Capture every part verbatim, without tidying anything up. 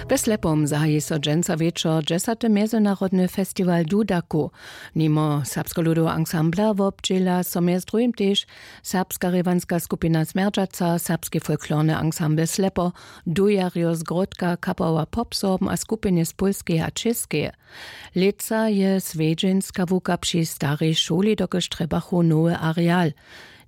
We Slepom zahaji so dźensa wječor dźesaty mjezynarodny festiwal Dudaku. Nimo serbskeho ludoweho ansambla wobdźěla so mjez druhim tež serbska rěwanska skupina Smjerdźaca, serbski folklorny ansambl Slepo, dujarjo z Gródka, kapała Popsorbn a skupiny z Pólskeje a Čěskeje. Lětsa je swjedźenska łuka při starej šuli dokelž trjebachu nowy areal.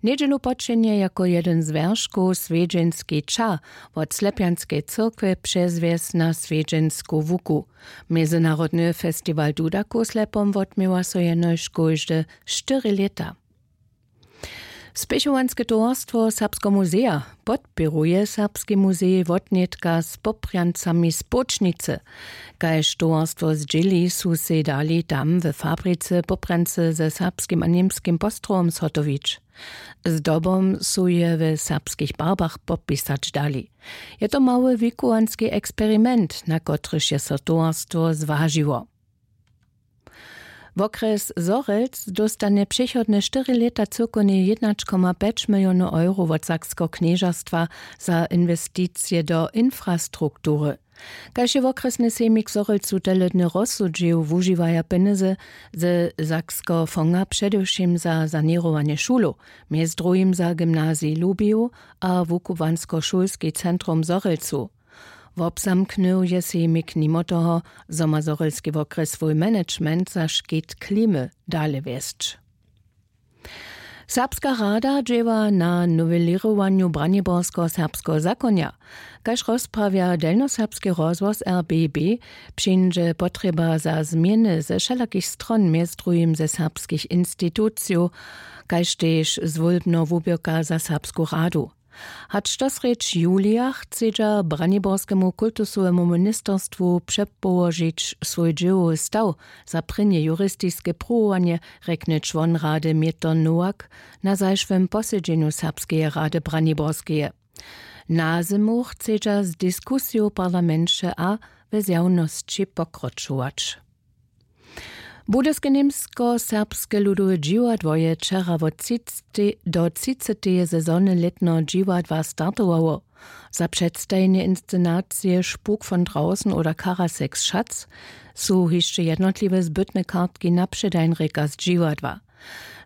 Njedźelu počenje jako jedyn z wjerškow swjedźenski ča wot slepjanskeje cyrkwje přezwjesć na swjedźensku łuku. Mjezynarodny festiwal dudaku w slepom wotměła so jenož kóžde štyri lěta. Spěchowanske towarstwo serbskeho muzeja podpěruje serbski muzej wotnětka z popranjcami spočnicy. Kaž towarstwo zdźěli su sej dali tam we fabricy popranjcy ze serbskim a němskim postrowom zhotowić. Zdobom su je we serbskich barbach popisać dali. Je to mały wikowanski eksperiment na kotryž je so towarstwo zwažiło. Wokrjes zhorjelc dóstanje přechodne štyri lěta cyłkownje jednaćkomapjeć milionow euro wot sakskeho knježerstwa za inwesticije do infrastruktury. Kaž je wokrjesny sejmik zhorjelcu teledny rozsudźił wužiwaja pjenjezy ze sakskeho fonga předewšěm za saněrowanje šulow, mjez druhim za gymnazij lubiju a wukubłanskošulski centrum zhorjelcu. Wobzamknył je sejmik nimo toho, zo ma zhorjelski wokrjes swój management za škit klimy dale wjesć. Serbska rada dźěła na nowelěrowanju braniborskeho serbskeho zakonja. Kaž rozprawja delnjoserbski rozhłos rbb, přińdźe potrjeba za změny ze wšelakich stron mjez druhim ze serbskich institucijow, kaž tež zwólbneho wuběrka za serbsku radu. Hač dosrjedź julija chcedźa braniborskemu kultusowemu ministerstwu přepołožić swój dźěłowy staw za prěnje juristiske pruwowanje, rjekny čłon rady mětr nowak na zašłym posedźenju serbskeje rady braniborskeje. Na zymu chcedźa z diskusijow w parlamenće a we zjawnosći pokročować. Budyske němskoserbske ludowe dźiwadło je wčera wot třiceteje do třiceteje sezony lětneho dźiwadła startowało. Za předstajenje inscenacije Spuk von draußen oder Karaseks Schatz su hišće jednotliwe zbytne kartki na předań rěka z dźiwadła.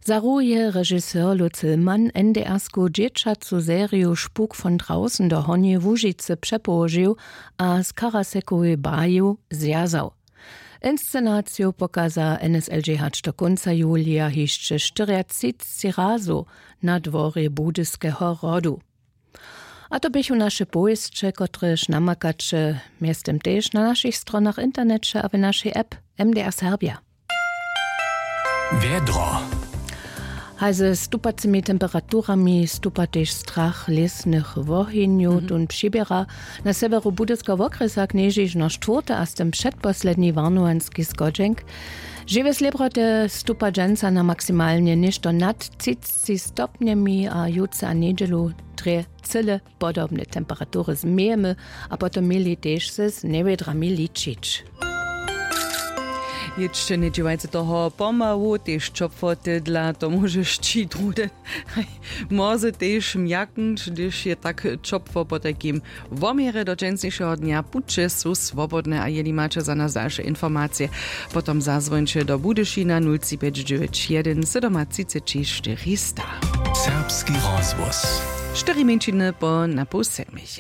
Za ruh je režiser Lutz Hillmann N D R-sku dźěćacu seriju Spuk von draußen do Hornjeje Łužicy přepołožił a z Karasekowej baju zwjazał. Inscenaciju pokaza N S L J hač do kónca julija hišće štyriatřicci razu na dworje Budyskeho hrodu. A to běchu naše powěsće, kotrež namakaće mjeztym tež na našich stronach w interneće a w našej app M D R Serbja. Wjedro. Haj, ze stupacymi temperaturami stupa tež strach lěsnych wohenjow. Mhm. Tón přiběra na sewjeru Budyskeho wokrjesa knježišno štwórty a z tym předposledni warnowanski schodźenk. Žiwje slěbroty stupa dźensa na maksimalnje něšto nad třicci stopnjemi a jutře a njedźelu drje cyle podobne temperatury změjemy a potom měli tež z njewědrami ličić. Jětšće njedźěłajce toho pomału, tež ćopłoty dla to móžeš ći druhdy. Mozy tež mjaknć, hdyž je tak ćopło. Potajkim woměrje do dźensnišeho dnja puće su swobodne a jeli maće za nas dalše informacije, potom zazwońće do Budyšina nul tři pjeć dźewjeć jedyn sydomatřiceći štyristo. Serbski rozhłos. Štyri mjeńšiny po na pół sedmich.